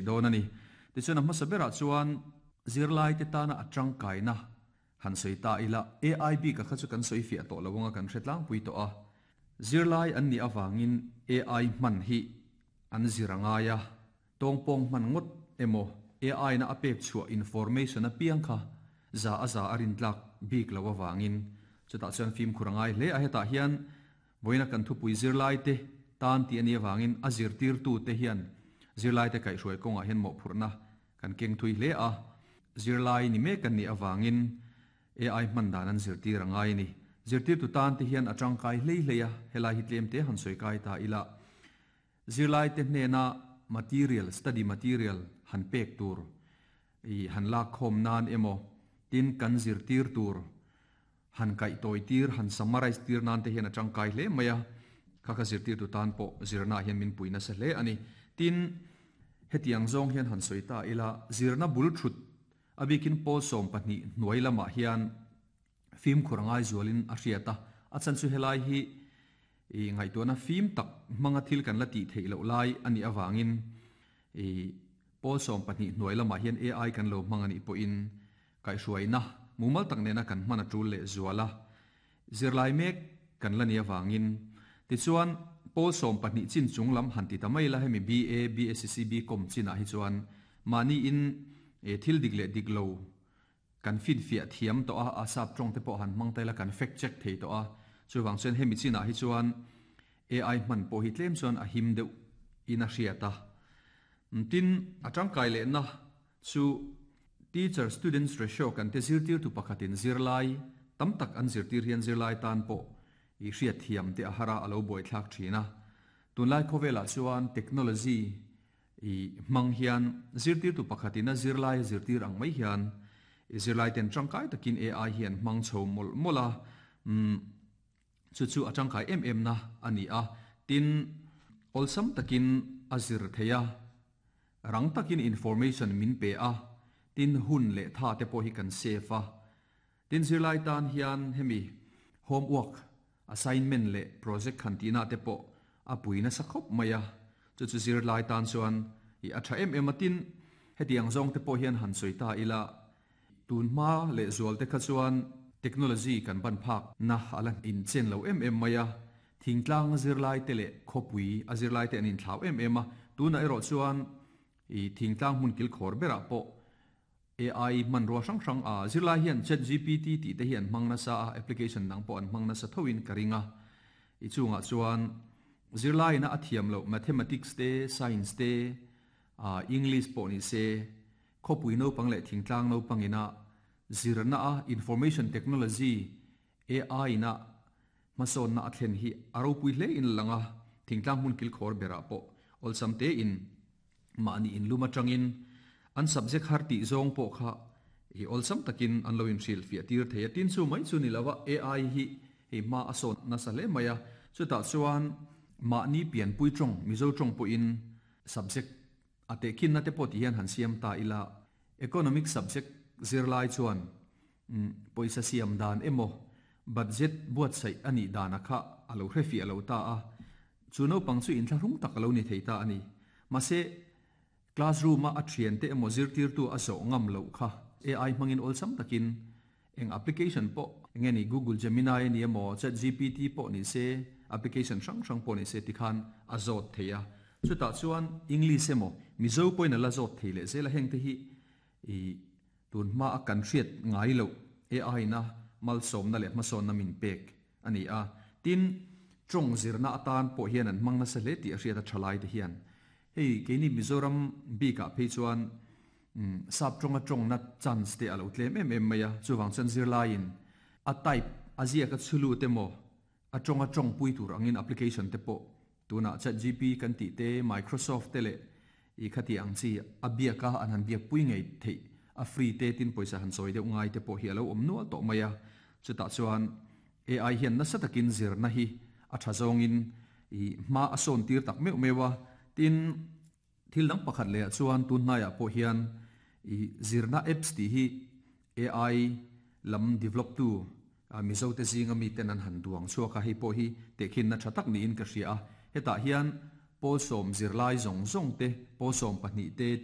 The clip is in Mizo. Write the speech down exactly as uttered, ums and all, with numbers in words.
dawn ani. Tichuan a hmasa berah chuan zirlai te tana a tangkaina han sawi ta ila. A I bik a kha chu kan sawi fiah tawh lo anga, kan hre tlangpui tawh a. Zirlai an nih awangin A I hman hi an zir angai a, tawngpawng hman ngawt emaw A I na a pek chhuah information a piang kha za a za a rin tlak bik lo awangin chutah chuan fim khur angai hle a. Hetah hian voina kan thupui zirlai te tan ti ani awangin a zirtir tu te hian zirlai te kai hruai kawngah hian mawhphurhna kan keng thui hle a. Zirlai ni mek kan nih awangin A I hman dan an zirtir angai ni. Zirtir tu tan te hian a tangkai hlei hlei a. Helai hi tlem te han sawi kai ta ila. Zirlai te hnena material, study material han pek tur i han lak khawm nan emaw, tin kan zirtir tur han kai toy tir, han summarize tir nan te hian a tangkai hle mai a. Kha kha zirtir tu tan pawh zirna hian min puina sa hle ani. Tin, hetiang zawng hian han sawi ta ila. Zirna bul thut abikin pawl sawm pahnih hnuai lamah hian fim khurangai zualin a hriata a. Chan chu helai hi i ngaihtuahna fim tak hmanga thil kan la tih theih loh lai ani awangin i pawl sawm pahnih hnuai lamah hian A I kan lo hmang ani pawhin kaihhruaina mumal tak nena kan hman a tul leh zuala, zirlai mek kan la ni awangin. Tichuan pawl sawm pahnih chin chung lam han ti ta mai la, hemi B A, B S C, B Com chinah hi chuan mahni in e thil dik leh dik lo kan fin fiah thiam to a, a sap tawng te pawh han hmang taila kan fact check thei to a. Chuwang chuan hemi chinah hi chuan A I hman pawh hi tlem chuan a him deuh in a hriata. Tin, a tangkai leh na chu teacher students ratio kan te, zirtir tu pakhatin zirlai tam tak an zirtir hian zirlai tan pawh i hriat thiam te a hara, alo buai thlak thina. Tunlai khawvela chuan technology i hmang hian zirtir tu pakhatin a zirlai zirtir ang mai hian i zirlai ten tangkai takin A I hian hmang chho mol mola um chu chu a tangkai em em na ani a. Tin, olsam takin a zir theia, rang takin information min pe a. Tin, hun leh tha te pawh hi kan save a. Tin, zirlai tan hian hemi homework, assignment leh project khan tina te pawh a puina sakhop maya. Chu chu zirlai tan chuan i a tha em em a. Tin, hetiang zawng te pawh hian han sawi ta ila. Tun hma leh zual te kha chuan technology kan ban phak na ala in chen lo em em maya, thingtlang zirlai te leh khawpui a zirlai te an in thlau em em a. Tuna erawh chuan i thingtlang hmun kil khawr berah pawh A I man ro hrang hrang a zirlai hian Chat G P T ti te hian hmang na sa a, application dang pawh an hmang na sa thoin ka ringa. I chungah chuan zirlai na a thiam lo mathematics te, science te, a English pawh ni se, khawpui no pang leh thingtlang no pangina zirna a information technology A I na masawn na a thlen hi aro pui hle in langa. Thingtlang hmun kil khawr berah pawh olsam te in mahni in luma tangin an subject har ti zawng pawh kha i olsam takin an lo in hril fiah tir thei a. Tin, chu mai chu ni lawa, A I hi hei ma a sawn na sa hle mai a. Chutah chuan mahni pian pui tawng, Mizo tawng pawh in subject ate khin na te pawh ti hian han siam ta ila. Economic subject zirlai chuan um poisa siam dan emaw, budget buat sai ani dana kha alo hrefi alo ta a. Chu no pang chu in thlahrung tak alo ni thei ta ani. Mase classroom a a thian te emaw zirtir tu a zo ngam lo kha A I hmangin olsam takin eng application pawh enge ni, Google Gemini ni emaw, Chat G P T pawh ni se, application hrang hrang pawh ni se, tikhan a zawt theia. Chutah chuan English emaw Mizo pawhin ala zawt thei leh zela. Heng te hi i tun hma a kan hriat ngai lo A I na malsawmna leh hmasawnna min pek ani a. Tin, tawng zirna atan pawh hian an hmang nasa hle tih a hriat a thalai te hian. Hei keini Mizoram bikah phei chuan um sap tawnga tawng na chance te alo tlem em em mai a. Chuwang chuan zirlaiin a type a zia ka chulu te maw, a tawnga tawng pui tur angin application te pawh tuna Chat G P kan ti te, Microsoft te leh i khati ang chi a biaka an han biak pui ngei thei a, free te, tin poisa han sawi deuh ngai te pawh hi alo awm nual tawh mai a. Chutah chuan A I hian nasa takin zirna hi a tha zawngin i hma a sawn tir tak meuh meuha. Tin, thil dang pakhat leh ah chuan tun hnaiah pawh hian i zirna apps ti hi A I lam develop tu Mizo te zinga mi ten an han duang chhuaka. Hei pawh hi tehkhin na tha tak niin ka hria a. Hetah hian pawl sawm zirlai zawng zawng te, pawl sawm pahnih te, tin